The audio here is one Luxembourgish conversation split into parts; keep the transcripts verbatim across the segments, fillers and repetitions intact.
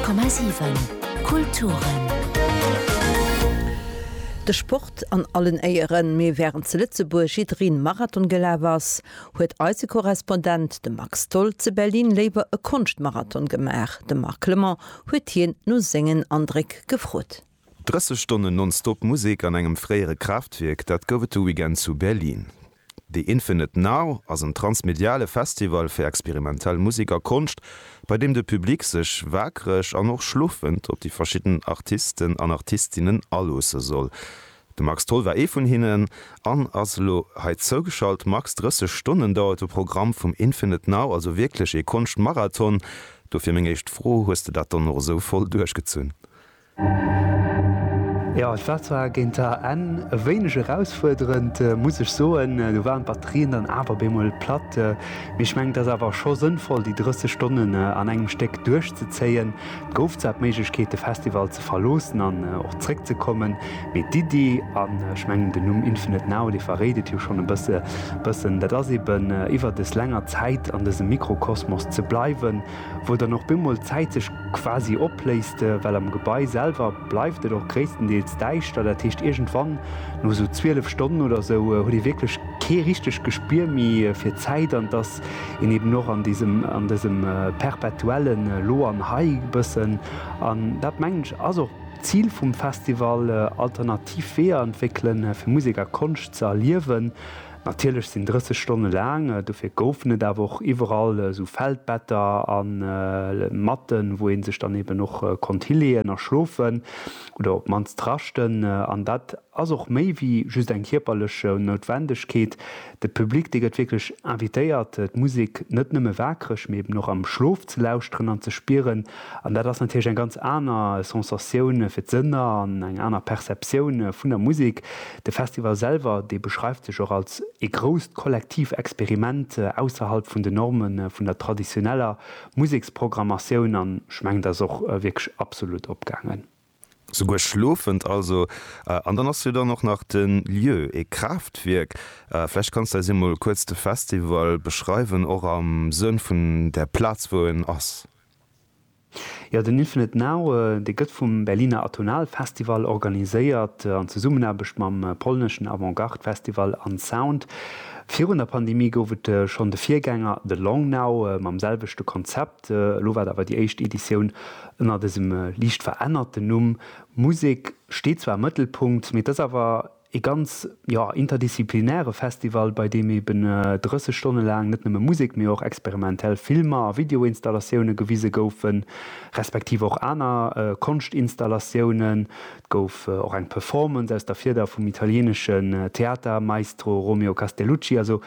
Honnert Komma siwen Kulturen. De Sport an allen Éieren, mee wärend zu Lëtzebuerg jiddereen Marathon gelaf ass, huet eise Korrespondent, de Max Tholl, zu Berlin léiwer e Konschtmarathon gemaach. De Marc Clement huet hien no sengen Andréck gefrot. drësseg Stonnen nonstop Musek an engem fréiere Kraaftwierk, dat gouf et de Weekend zu Berlin. The Infinite Now ass en transmediale Festival fir experimentell Musek a Konscht, bei deem de Public sech waakreg an och schlofend op déi verschidden Artisten an Artistinnen aloosse soll. De Max Tholl war ee vun hinnen an ass elo hei zougeschalt. Max, drësseg Stonnen dauert de Programm vum Infinite Now, also wierklech ee Konschtmarathon. Dofir meng éischt Fro, Hues de dat dann och esou voll duerchgezunn? Jo, et war zwar géint der Enn e wéineg erausfuerderend, muss ech soen. Do waren d'Batterien dann awer bemol platt. Mee ech mengen, et ass awer scho sënnvoll, déi drësseg Stonnen an engem Stéck duerchzezéien. Et gouf zwar d'Méiglechkeet, de Festival ze verloossen an och zréckzekommen, mee d'Iddi, an ech mengen, den Numm Infinite Now, dee verréit et jo schonn e bësse bëssen, dat ass eben, iwwer dës länger Zäit an dësem Mikrokosmos ze bleiwen, wou dann och bemol d'Zäit sech quasi opléist, well am Gebai selwer bleift et och gréisstendeels däischter. Dat heescht, iergendwann no esou zwielef Stonnen oder esou huet ee wierklech kee richtegt Gespier méi fir d'Zäit an et ass een eben och an diesem, an dësem perpetuellen Lo an Hei bëssen. An dat, mengen ech, ass och d'Zil vum Festival, alternativ Weeër entwéckelen, fir Musek a Konscht ze erliewen. Natierlech sinn drësseg Stonne laang, dofir goufen et awer och iwwerall esou Feldbetter a Matten, wou ee sech dann eben och konnt hileeën a schlofen oder op d'mannst raschten. An dat ass och méi wéi just eng kierperlech Noutwendegkeet. De Public, dee gëtt wierklech invitéiert, d'Musek net nëmme waakreg, mee eben och am Schlof ze lauschteren an ze spieren. An dat ass natierlech eng ganz aner Sensatioun fir d'Sënner an eng aner Perceptioun vun der Musek. De Festival selwer, dee beschreift sech och als ee grousst kollektiv Experiment ausserhalb vun den Norme vun der traditioneller Museksprogrammatioun an ech mengen, dat ass och wierklech absolut opgaangen. Souguer schlofend also. An dann ass jo dann och nach de Lieu, ee Kraaftwierk. Vläicht kanns de eis emol kuerz de Festival beschreiwen, och am Sënn vun där Plaz wou en ass. Jo, den Infinite Now, dee gëtt vum Berliner Atonal Festival organiséiert, an Zesummenaarbecht mam polneschen Avantgarde-Festival Unsound. Virun der Pandemie gouf et schonn de Virgänger The Long Now mam selwechte Konzept. Elo war et awer déi éischt Editioun ënner dësem liicht verännerten Numm. Musek steet zwar am Mëttelpunkt, mee et ass awer ee ganz, jo, interdisziplinäre Festival, bei deem eben drësseg Stonne laang net nëmme Musek, mee och experimentell Filmer a Videoinstallatioune gewise goufen, respektiv och aner Konschtinstallatiounen. Et gouf och eng Performance aus der Fieder vum italieeneschen Theatermaestro Romeo Castellucci. Also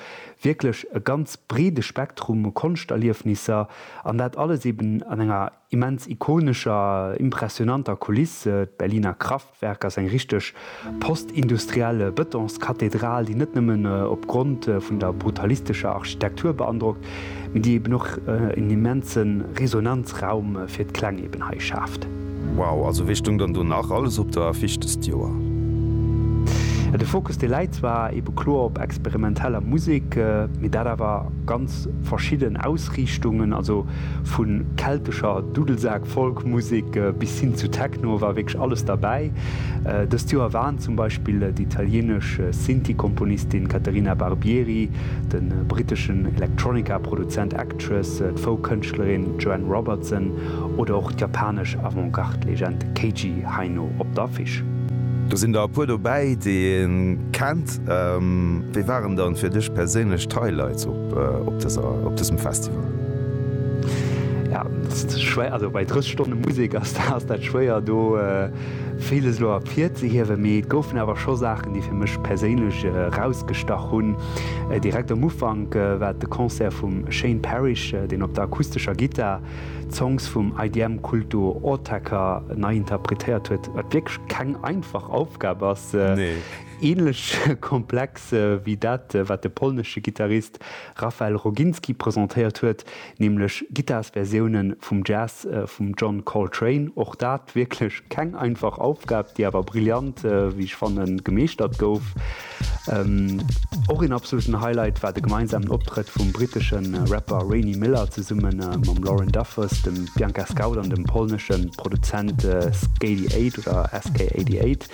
wierklech e ganz breede Spektrum u Konschterliefnisser an dat alles eben an enger immens ikonescher, impressionanter Kuliss. D'Berliner Kraftwerk ass eng richteg postindustriell Bëtonskathedral, déi net nëmmen opgrond vun der brutalistescher Architektur beandrockt, mee déi eben och en immense Resonanzraum fir d'Kläng eben hei schaaft. Wow, also wee stung dann do nach alles op der Affiche dëst Joer? De Fokus dee läit zwar ebe kloer op experimenteller Musek, mee dat awer ganz verschidden Ausriichtungen, also vu keltescher Dudelsak-Folk-Musek bis hin zu Techno war wierklech alles derbäi. Dëst Joer waren zum Beispill déi italienesch Synthie-Komponistin Caterina Barbieri, de britteschen Electronica-Produzent Actress, d'Folk-Kënschtlerin Joanne Robertson oder och d'japanesch Avantgarde-Legend Keiji Haino op der Affiche. Do sinn der e puer dobäi, déi ee kennt. Wéi waren dann fir dech perséinlech d'Highlights op op dëser op dësem Festival? Ja, schwéier, also bei drësseg Stonne Musek ass ass dat schwéier do villes elo ervirzehiewen, mee et goufen awer scho Saachen, déi fir mech perséinlech erausgestach hunn. Direkt am Ufank war et de Concert vum Shane Parish, deen op der akustescher Gittar d'Songs vum I D M-Kultur Autechre nei interpretéiert huet, wat wierklech keng einfach Aufgab ass. Nee. Ähnlech komplex wéi dat, wat de polnesche Gittarist Rafael Roginski presentéiert huet, nämlech Gittarsversioune vum Jazz vum John Coltrane. Och dat wierklech keng einfach Aufgab, déi awer brillant, wéi ech fannen, gemeeschtert gouf. Och een absoluten Highlight war de gemeinsamen Optrëtt vum brittesche Rapper Rainy Miller zesumme mam Lauren Duffus, dem Bianca Scout an dem polnesche Produzent Skady Eight oder S K eighty eight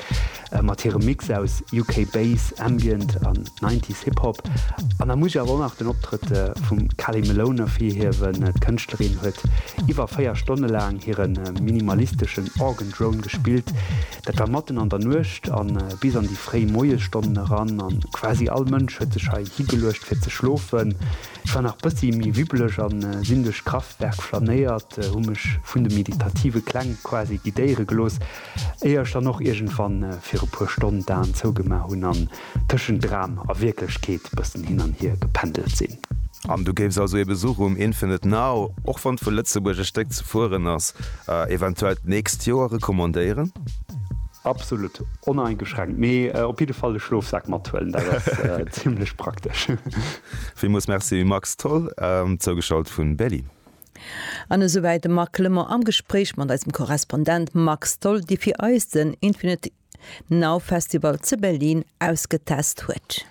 mat hirem Mix aus U K Bass, Ambient an Nineties Hip Hop. An da muss ech awer och nach den Optrëtt vum Kali Malone ervirhiewen. D'Kënschtlerin huet iwwer véier Stonne laang hire minimalisteschen Organ Drone gespillt. Dat war matten an der Nuecht a bis an déi fréi Moiesstonnen eran an quasi all Mënsch huet sech hei higeluecht fir ze schlofen. Ech war nach bëssi méi wibbeleg an sinn duerch d'Kraftwerk flanéiert, hu mech vun de meditative Kläng quasi guidéiere gelooss, éier ech dann och iergendwann fir e puer Stonnen d'Aen zougemaach hunn an tëschent Dram a Wierklechkeet bëssen hin an hier gependelt sinn. An du géifs also ee Besuch um Infinite Now, och wann et vu Lëtzebuerg e Stéck ze fueren ass, eventuell d'nächst Joer recommandéieren? Absolut, oneingeschränkt. Mee op jidde Fall e Schlofsak mathuelen, dat ass zimmlech praktesch. Villmools Merci Max Tholl, zougeschalt vun Berlin. An esouwäit de Marc Clement am Gespréich mat eisem Korrespondent Max Tholl, dee fir eis den Infinite Now Festival zu Berlin ausgetest huet.